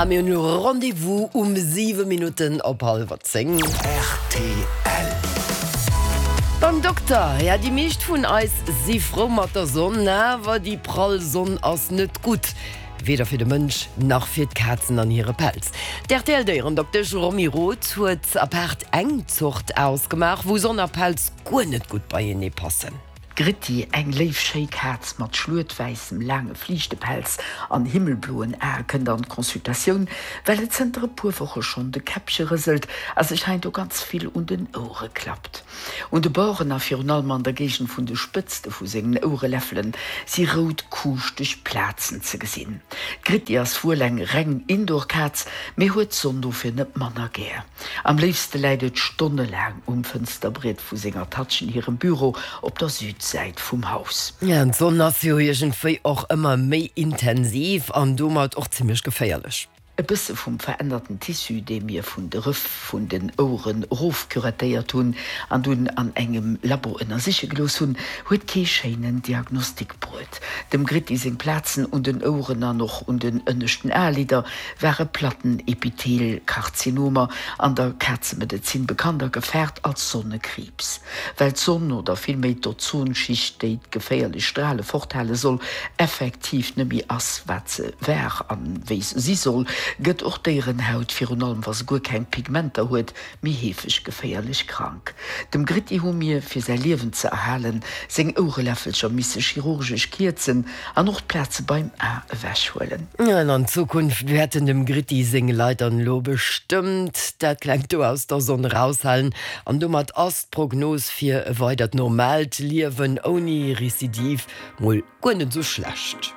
Ja, mir hunn elo Rendez-vous um 7 Minutten op hallwer 10. Rtl. Beim Dokter, Ja, déi meescht vun eis si frou mat der Sonn, awer déi prall Sonn ass net gutt, weder fir de Mënsch nach fir d'Kazen an hire Pelz. D'RTL-Déierendoktesch Romy Roth huet apaart eng Zort ausgemaach, wou Sonn a Pelz guer net gutt beienee passen. D'Gritti, eng léif schéi Kaz mat schluetwäissem laange Fliichtepelz an himmelbloen Ae kënnt an d'Consultatioun, well et zënter e puer Woche schonn de Käppche rëselt a sech heindo ganz vill un den Ouere klappt. Un de Borden a virun allem an der Géigend vun de Spëtzte vu sengen Ouereläffelen si rout kuuschteg Plazen ze gesinn. D'Gritti ass wuel eng reng Indoor-Kaz, mee huet d'Sonn dofir net manner gär. Am léifste läit et stonnelaang um Fënsterbriet vu senger Tatchen hirem Büro op der Südsäit vum Haus. Ja, d'Sonn ass jo iergendwéi och ëmmer méi intensiv an domat och zimmlech geféierlech. E bësse vum verännerten Tissu, dee mir vun de Rëff vun den Oueren erofcurettéiert hunn an dunn an engem Labo ënnersiche gelooss hunn, huet kee schéinen Diagnostic bruet. Dem Gritti seng Plazen un den Oueren an och un den ënneschten Aelidder ware Plattenepithelkarzinomer, an der Kazemedezin bekannt a gefaart als Sonnekriibs. Well d'Sonn, oder villméi d'Ozonschicht, déi d'geféierlech Strale forthale soll, effektiv net méi ass, wat se war a wéi se si soll, gëtt och d'Déierenhaut, virun allem wa se guer keng Pigmenter huet, méi heefeg geféierlech krank. Dem Gritti hu mir, fir säi Liewen ze erhalen, seng Ouereläffelcher misse chirurgesch kierzen an och d'Plaze beim A ewechhuelen. An an Zukunft wäerten dem Gritti seng Leit dann elo bestëmmt dat klengt do aus der Sonn eraushalen. An domat ass d'Prognos fir e weidert normaalt Liewen ouni Recidive mol guer net esou schlecht.